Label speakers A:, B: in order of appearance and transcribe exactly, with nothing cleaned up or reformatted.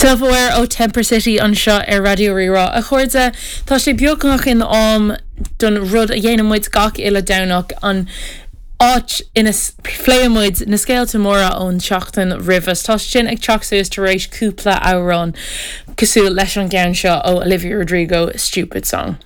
A: Self-Aware ó Temper City anseo ar Raidió Rí-Rá. A chairde, tá sé beagnach in am don rud a dhéanann muid gach uile Domhnach, an áit ina phléann muid na scéalta móra ón seachtain roimhe. Tá sin ag teacht suas tar éis cúpla amhrán cosúil leis an gceann seo ó Olivia Rodrigo, "Stupid Song."